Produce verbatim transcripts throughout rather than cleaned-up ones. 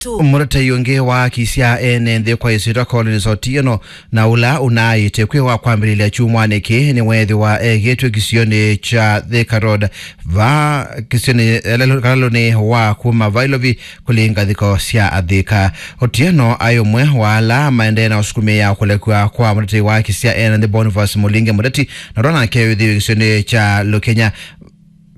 Mbaitũ. Mũtetei ũngĩ wa haki sya ene nthĩ kwa ĩsyĩtwa Collins Otieno, na ũla ũnaaĩte kwĩwa kwambĩlĩlya kyumwanĩ kĩĩ, nĩweethĩwa egĩtwe kĩsionĩ kya Thika Road, va kĩsionĩ, eh, kalalũnĩ wa kuma Vailovi kũlĩ ngathĩko sya Athĩka. Otieno aĩ ũmwe wa ala maendee na ũsukumĩa kũlekw'a kwa mũtetei wa haki sya ene nthĩ Boniface Mũlinge Mũteti, na ũla nake wĩthĩĩwe kĩsionĩ kya Lukenya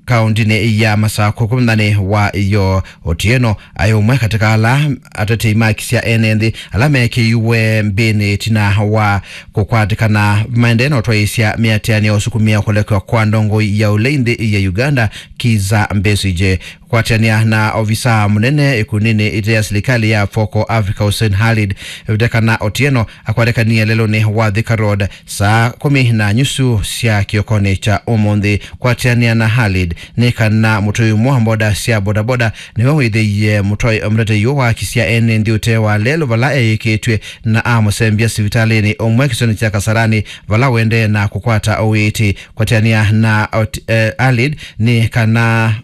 kaũndĩnĩ ya Masakũ kũmũthanĩ wa ĩyoo. Otieno aĩ ũmwe katĩ ka ala atetei ma haki sya ene nthĩ ala mekĩiwe mbĩnĩ ĩtina wa kũkwatĩkana maendee na ũtwaĩĩsya mĩatĩanĩo ya ũsukumĩa kũlekw'a kwa ndongoi ya ũlei nthĩ ya Uganda, Kizza Besigye. Kũatĩanĩa na ovisa mũnene ĩkundinĩ ĩte ya silikalĩ ya Focal Africa, Hussein Khalid, ĩvĩte kana Otieno akwatĩkanie lelũnĩ wa Thika Road saa kũmi na nyusu sya kĩokonĩ kya ũmũnthĩ. Kũatĩanĩa na Khalid, nĩ kana mũtũi ũmwe wa mboda sya bodaboda nĩwe wĩthĩie mũtoi-, mũtetei ũũ wa haki sya ene nthĩ ũtee wa lelũ vala eĩkĩtw'e, na amũsembya sivitalĩnĩ ũmwe kĩsionĩ kya Kasarani, vala ũendee na kũkwata ũiiti. Kũatĩanĩa na Ot-, eh, Khalid, nĩ kana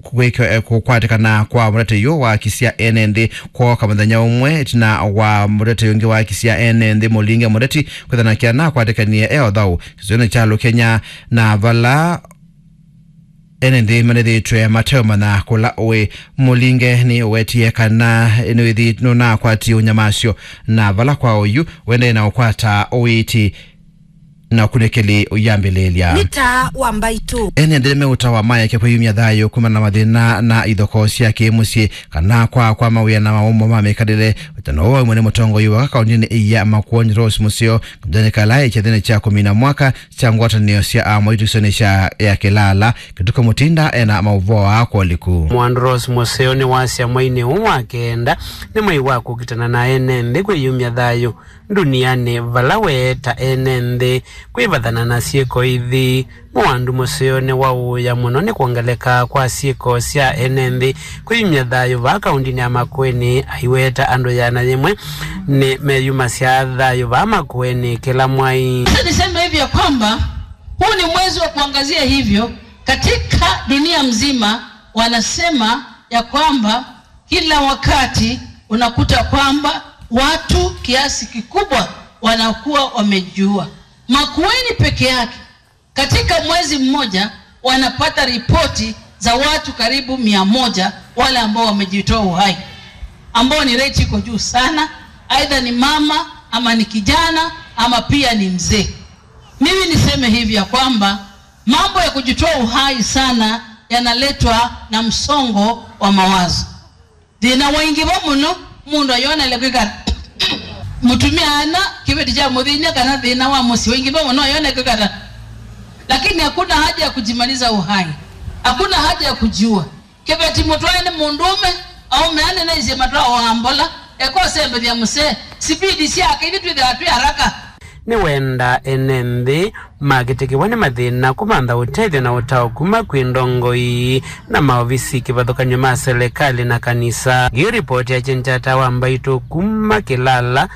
kwĩkyo-, eh, kũkwatĩkana kwa mũtetei ũũ wa haki sya ene nthĩ kwooka mũthenya ũmwe ĩtina wa mũtetei ũngĩ wa haki sya ene nthĩ Mũlinge Mũteti kwĩthana kĩana akwatĩkanie e ũthau kĩsionĩ kya Lukenya, na vala ene nthĩ manĩthĩtwe mateũmanya kũla ũĩ. Mũlinge nĩ ũwetie kana nĩwĩthi nũnakwatie ũnyamasyo, na vala kwa ũyu ũendee na ũkwata ũiiti na ũkunĩkĩli ũyambĩlĩlya. Nĩ taa wa Mbaitũ. Ene nthĩ nĩmeũtawa mayake kwĩyumya thayũ kumana na mathĩna na ithokoo sya kĩ-mũsyĩ kana kwa, kwa mawĩa na mawũmbo ma mĩkalĩle. Ũtano ũũ waumw'a nĩ mũtongoi wa kaũndĩnĩ ya Makueni Rose Mũseo, kamũthenya kala ĩkyathĩnĩ kya kũmina mwaka kya ngwatanĩo sya amwaitũ kĩsionĩ kya ya Kĩlala. Kĩtukũ Mũtinda ena maũvoo aa kwa ũliku. Mwandu Rose Mũseo nĩwasya mweinĩ ũũ wa kenda nĩ mwei wa kũkitana na ene nthĩ kwĩyumya thayũ ndunianĩ, vala weeta ene nthĩ kwĩvathana na syĩko ithi. Mwandu Mũseo nĩwaũĩa mũno nĩ kwongeleka kwa syĩko sya ene nthĩ kwĩyumya thayũ vaa kaũndĩnĩ ya Makueni, aiweta andũ ĩana yĩmwe nĩ meyumasya thayũ vaa Makueni kĩla mwai. Sasa niseme hivi ya kwamba huu ni mwezi wa kuangazia hivyo katika dunia mzima, wanasema ya kwamba kila wakati unakuta kwamba watu kiasi kikubwa wanakuwa wamejiua. Makueni peke yake, katika mwezi mmoja wanapata ripoti za watu karibu mia moja wale ambao wamejitoa uhai, ambao ni rate iko juu sana, aidha ni mama ama ni kijana ama pia ni mzee. Mimi niseme hivi ya kwamba mambo ya kujitoa uhai sana yanaletwa na msongo wa mawazo. Thĩna waingĩva mũno, mũndũ ayonele kwĩkala mũtumĩa ana kĩveti kya mũthĩny'a kana thĩna wa mũsyĩ waingĩva mũno ayone kwĩkala. Lakini hakuna haja ya kujimaliza uhai, hakuna haja ya kujiua. Kĩveti mũtwae nĩ mũndũũme, aũme anene isĩ matwaa wa mbola, eka ũsembethya mũsee, sipidi syake ithi twĩthĩwa twĩ haraka. Nĩwenda ene nthĩ makĩtĩkĩwa nĩ mathĩna kũmantha ũtethyo na ũtao kuma kwĩ ndongoi na maovisi kĩvathũkany'o ma selekalĩ na kanisa. Ngĩ ripoti ya Chinchata wa Mbaitũ kuma Kĩlala,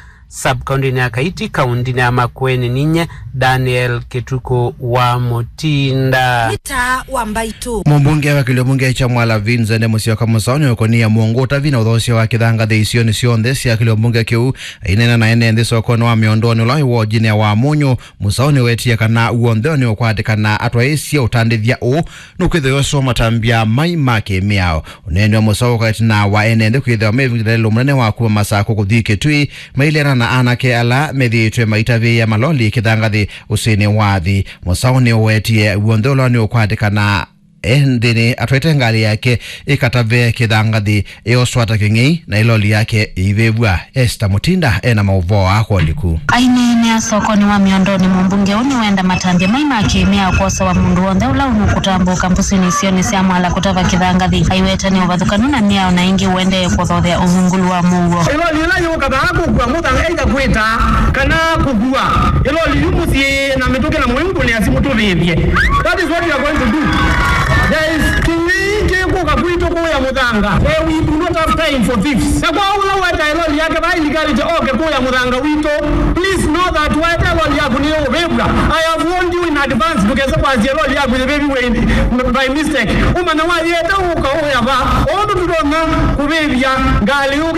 sub-kaũndĩnĩ ya Kaiti, kaũndĩnĩ ya Makueni, ninye Daniel Kĩtukũ wa Mũtinda. Nĩ taa wa Mbaitũ. Mũmbunge wa kĩlio mbunge kya Mwala Vincent Musyoka Mũsaũ nĩũkũnĩa mũngũ ũtavi na ũthoosya wa kĩthangathĩ isionĩ syonthe sya kĩlio mbunge kĩu. Aineena na ene nthĩ sokonĩ wa Mĩondonĩ ũla wĩ wodinĩ ya Wamunyũ, Mũsaũ nĩwetie kana w'onthe nĩũkwatĩkana atwaĩĩsye ũtandĩthya ũũ nũkwĩthĩwa ũsoo matambya mai ma kĩ-mĩao. Ũneeni wa Mũsaũ ũkaetina wa ene nthĩ kwĩthĩwa me ĩvinda lelũ mũnene wa kuma Masakũ kũthi Kĩtui, maileana na anake ala methĩĩtwe maitavĩĩa maloli kĩthangathĩ ũsĩnĩ wa Athi. Mũsaũ nĩũwetie w'onthe ũla nĩũkwatĩkana e nthĩnĩ atwaĩte ngalĩ yake ĩkatave kĩthangathĩ ĩoswa ta kĩng'ei, na ĩloli yake ĩivĩvw'a. Esther Mutinda ena maũvoo aa kwa ũliku. Aineenea sokonĩ wa Mĩondonĩ, mũmbunge ũũ nĩwenda matambya mai ma kĩ-mĩao kwosewa mũndũ w'onthe ũla ũnũkũtambũka mbũsĩnĩ isionĩ sya Mwala kũtava kĩthangathĩ. Aiweta nĩ ũvathũkanu na mĩao na ĩngĩ ũendee kũthothea ũvungũlu wa mũuo. Ĩloli ĩla yũka vaa kũkua mũthanga either kwĩta kana kũkua ĩloli yu mũsyĩ na mĩtũkĩ na mũingũnĩa simũ tũvĩvye. That is what we are going to do. There is kĩng'ei kĩkũka kwitũ. kũya mũthanga. Eh, we do not have time for thieves. Na kwa ũla wetae loli yake, va illegality, oke kũya mũthanga witũ. Please know that wetae loli yaku nĩ ũvĩvw'a. I have warned you in advance, ndũkese kwasya loli yaku yĩvĩviwe in, by mistake. Ũmanya wayĩete ũka ũya va. Ũndũ tũtonya kũvĩvya ngalĩ yũkĩ